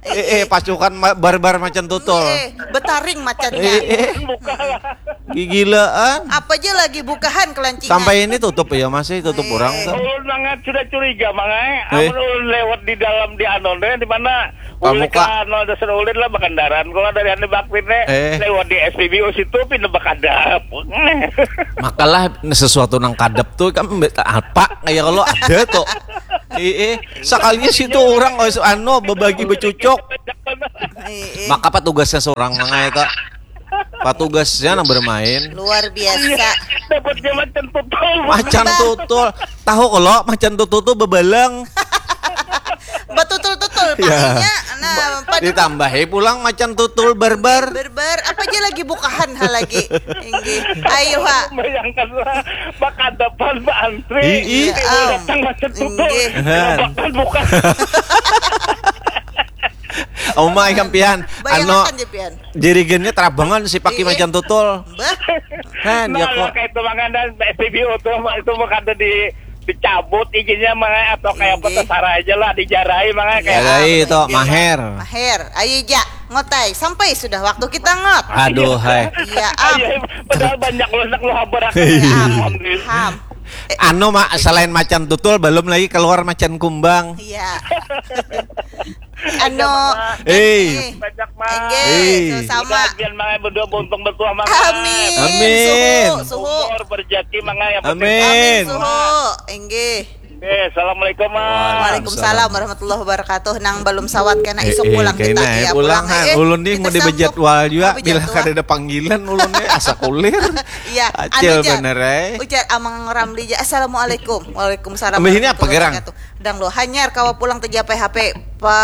Eh, eh pasukan barbar macan tutul. Eh, betaring macannya. Eh, eh. Buka lah. Gigilaan. Apa aja lagi bukahan kelancingan. Sampai ini tutup ya masih tutup orang tuh. Ulun mangat sudah curiga mangai. Amun ulun lewat di dalam di anon deh di mana? Ulun ke anu ada ulin lah berkendaraan kalau dari anu bakti nih lewat di S P B U situ pindah berkadap. Makalah sesuatu nang kadap tuh kan apa kayak kalau ada tuh. Iya, sekalinya situ orang anu berbagi bercucuk. Maka petugasnya seorang mangai tak Patugasnya nang bermain. Luar biasa. Dapatnya macan tutul. Macan tutul. Tahu kalau macan tutul tuh bebalang. Betutul-tutul ya. Nah, ditambahi pulang macan tutul barbar. Barbar apa aja lagi bukahan ha lagi. Inggih. Ayo ha. Bayangkanlah bakadapan baantri. Iya, datang macan tutul. Inggih. Bakal buka. Omai kampian. Anu jirigennya terabangan si paki macan tutul. Kan ya kok. Kayak itu mangan dan S P B U tuh itu mah kada di Dicabut izinnya, Mang ai, atau kayak apa, Inggih. Terserah aja lah, dijarai, Mang ai, kayak Jarai itu, maher. Maher, ayo ja, ngotai, sampai sudah waktu kita, Ngot. Aduh, hai. Iya, am. Iya, padahal banyak lu, nak lu habar. Iya. Am. Alhamdulillah. Ham. Anu, Mak, selain macan tutul, belum lagi keluar macan kumbang. Iya. Anu. Eh. Eh, Banyak, Mang. Enggak, Eh. sama. Mudah-mudahan, Mang ai, berdua beruntung bertuah, Mang ai. Amin. Amin. Suhu, suhu. Umur, berjaki, Mang ai, yang penting. Amin. Suhu. Enggih. Eh, assalamualaikum, Mang. Waalaikumsalam warahmatullahi wabarakatuh. Nang belum sawat kena Eh, isuk eh, pulang kita kena, eh, ya, pulang, pulang. Han. Eh, Ulun ni kita mau sambung. Bejadwal juga. Oh, Bila bejadwal. Kada ada panggilan, ulun ni asa kulir. Iya, Acil anu, Jar. Bener, eh. Ujar Amang Ramli ja, "Assalamualaikum." "Waalaikumsalam." Ambil ini apa Warahmatullahi gerang? Wabarakatuh. Dang lo hanyar kawa pulang tejapai H P pa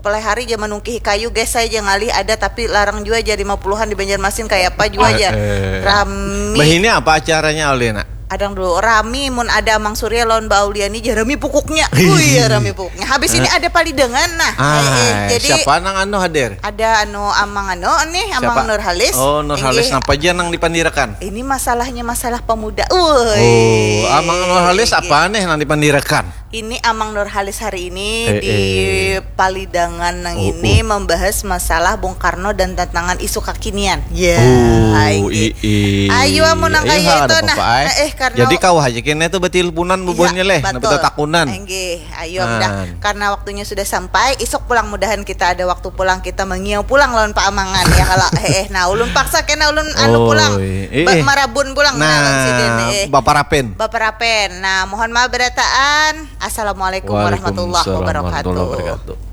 pelai hari ja manungkihi kayu, guys, saya ja ngalih ada, tapi larang jua ja lima puluhan di Banjarmasin, kayak apa jua Eh, ja. eh. Rami. Bah, ini apa acaranya, Alina? Adang dulu rami mun ada Amang Surya lawan Mbak Auliani ja rami pukuknya. Wih, ya rami pukuknya. Habis ini ada palidangan nah. Ah, Eh, eh, jadi siapa nang anu hadir? Ada anu Amang anu nih, Amang Siapa? Nurhalis. Oh, Nurhalis, Inggih. Napa aja nang dipandirakan? Ini masalahnya masalah pemuda. Woi. Oh, Amang Nurhalis Inggih. Apa nih nang dipandirakan? Ini Amang Nurhalis hari ini Eh, di eh. palidangan nang Oh, ini oh. Membahas masalah Bung Karno dan tantangan isu kekinian. Ya, Oh, inggih. i- i- Ayo, mun nang iya, kaya ada itu, nah. apa-apa, eh. Eh, eh, karena Jadi kau aja kena itu betilpunan Iya, bubuhannya leh, betul. Nah, betakunan. Enggih, ayo dah. Nah. Karena waktunya sudah sampai, isuk pulang mudahan kita ada waktu pulang, kita mengiau pulang lawan Pak Amangan ya kalau eh, eh. Nah, ulun paksa kena ulun anu Oh, pulang. iya. Ba- Eh, eh. marabun pulang nah, lawan sidin, Nah, eh. baparapen. Baparapen. Nah, mohon maaf berataan. Assalamualaikum warahmatullahi Waalaikumsalam wabarakatuh. warahmatullahi wabarakatuh.